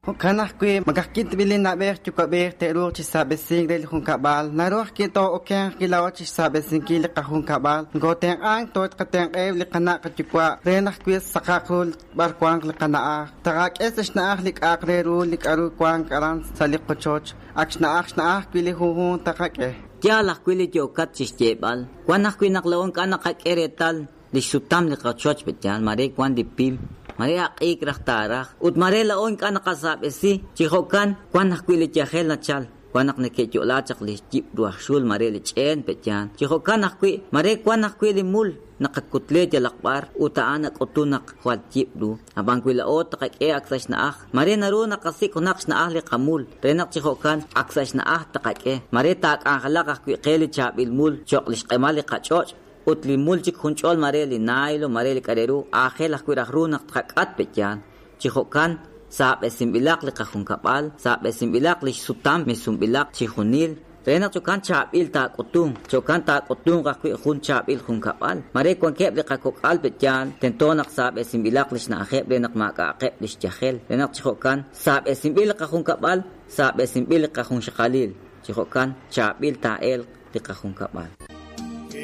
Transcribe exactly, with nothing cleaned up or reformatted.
Jo'kan ajwi' ma ka'ajwi' tib'il li na'b'ej yuwa'b'ej te'ruuq chi xsaab'esink re li junkab'al, naru ajwi' too'okenq laa'o chi xsaab'esinkil li qajunkab'al, nokootenq'ank tooqatenq'eb' li qana' qayuwa' re naq wi' saqaq ru b'ar wanq li qana'aj, taqak'e sa' xna'aj li k'a'aq re ru li k'aru wank aran sa' li qochoch, ak xna'aj xna'aj wi' li junjunq taqak'e. Yaal ajwi' li yookat chi xyeeb'al, wan ajwi' naq laa'o ink'a' naqak'e reetal li xsutam li qochoch pe'yaal, mare wan li pim, mare aq'iik raj taaraj, ut mare laa'o ink'a' naqasaab'esi, chi jo'kan wan ajwi' li yajel nachal, wan naq neke'yo'la chaq li yib' ru aj xul mare li ch'een pe'yaal, chi jo'kan ajwi' mare wan ajwi' li mul naqakutle yalaq b'ar ut a'an nak'utun naq jwal yib' ru, ab'an wi laa'o taqak'e ak sa' xna'aj, mare naru naqasik' junaq xna'aj li qamul, re naq chi jo'kan ak sa' xna'aj taqak'e, mare taak'anjalaq ajwi' qe li chaab'il mul cho'q li xq'emal li qach'och' ut li mul chik junch'ol mare li nailo, mare li k'a' re ru, aajel ajwi' raj ru naq tqak'at pe'yaal, chi jo'kan saab'esinb'ilaq li qajunkab'al, saab'esinb'ilaq li xsutam misunb'ilaq chi junil, re naq chokan chaab'il taak'utunq, chokan taak'utunq ajwi' jun chaab'il junkab'al, mare wankeb' li qakok'al pe'yaal, tento naq saab'esinb'ilaq li xna'ajeb' re naq maak'a'aqeb' li xyajel, re naq chi jo'kan saab'esinb'il li qajunkab'al, saab'esinb'il li qajunxaqalil, chi jo'kan chaab'il taa'elq li qajunkab'al.